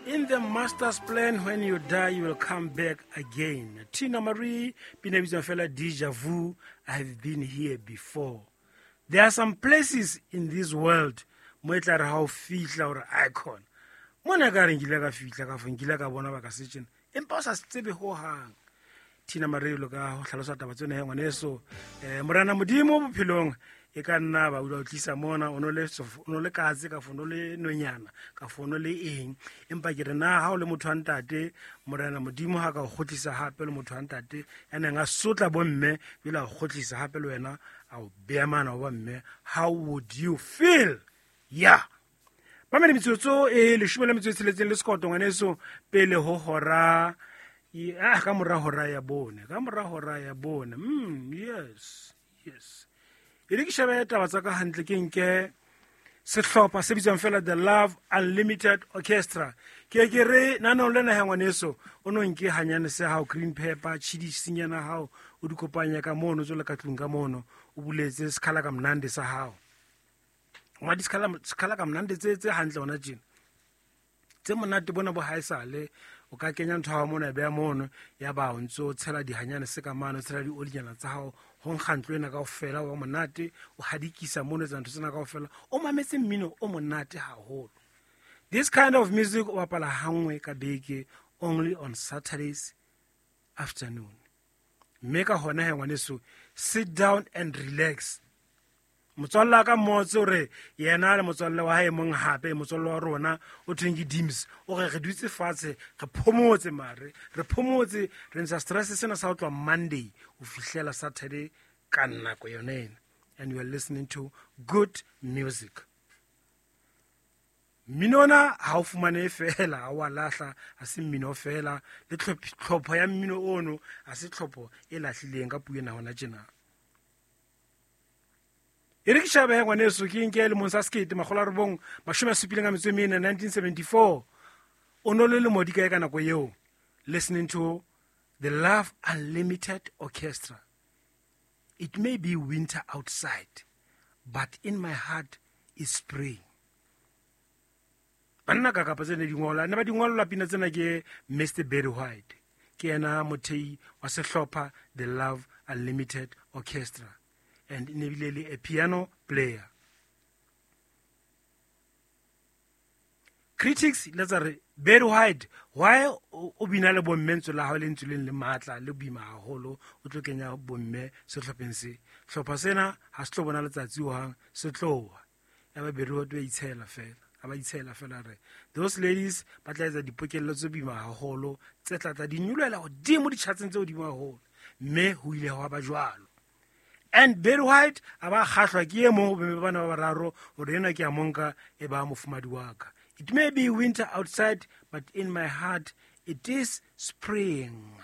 In the master's plan, when you die, you will come back again. Tina Marie, pina e bitswang fela Deja Vu, I have been here before. There are some places in this world mo e tla re ha o fihla hore icon. Mona ka re nkile ka fihla ka fo nkile ka bona ba ka se tjena. Empa o sa se tsebe hohang. Tina Marie lo ka ho hlalosa taba tsena he ngwaneso. Morena Modimo bophelong e ka nna ba o tlisa mona o no le o no le katse ka fo no le nonyana ka fo no le eng empa ke re na ha o le motho wa ntate morena modimo ha ka o kgotlisa hape le motho wa ntate ya neng a sotla bomme jwale a o kgotlisa hape le wena a o beya mana wa mme, how would you feel? Yeah, mamele metsotso e leshome le metso e tsheletseng le sekoto ngwaneso pele ho hora ah ka mora hora ya bone, ka mora hora ya bone. Yes, yes, e re ke shebe taba tsa ka hantle, ke nke sehlopha se bitswang fela The Love Unlimited Orchestra. Ke ke re naneong lena ya ngwaneso o no nke hanyane se hao green pepper chidisinyana hao o di kopanya ka mono tswele ka tlung ka mono o buletse sekhala ka mnande sa hao ngwa di sekhala ka mnande tse hantle hona tjena tse monate bona bo haesale o ka kenya ntho ya hao mono ya beha mono ya ba o ntso tshela dihanyane se ka mane o tshela diolinyana tsa hao ho nkga ntlo ena kaofela wa monate o hadikisa mono etsa ntho tsena kaofela o mametse mmino o monate haholo. This kind of music o bapala hanngwe ka beke, only on Saturdays afternoon. Mme ka hona he ngwaneso, sit down and relax. Motswalle wa ka mmotse hore yena le motswalle wa hae mong hape motswalle wa rona o thweng ke Dims o re re dutse fatshe re phomotse mare re phomotse re ntsha stress sena sa ho tloha Monday ho fihlela Saturday ka nako yone ena, and you are listening to good music. Mmino ona ha o fumane fela ha wa lahla ha se mmino fela le tlhopho ya mmino ono ha se tlhopho e lahlileng ka puo ena hona tjena. E re ke shebe ngwaneso ke nke lemong sa 1974, 1974 o no le lemo di kae ka nako eo, listening to The Love Unlimited Orchestra. It may be winter outside, but in my heart is spring. Banna ka kapa tsene di ngola ne ba di ngolla pina tsena ke Mr Barry White, ke yena mothei wa sehlopha The Love Unlimited Orchestra, and ne bile le a piano player. Critics le tsa re Barry White, why o bina le bomme ntse la hao le ntse le matla le boima haholo o tlo kenya bomme sehlopheng se hlopha sena ha se tlo bona letsatsi hohang se tloha ya ba Barry White ba itshela fela a ba itshela fela re those ladies ba tla etsa dipokello tse boima haholo tse tla tla di nyoloela hodimo ditjhatseng tse hodimo haholo mme ho ile hwa ba jwalo. And Barry White a ba kgahlwa ke e mong ho bomme bana ba bararo hore ena ke a monka e ba mofumadi wa ka. It may be winter outside, but in my heart it is spring.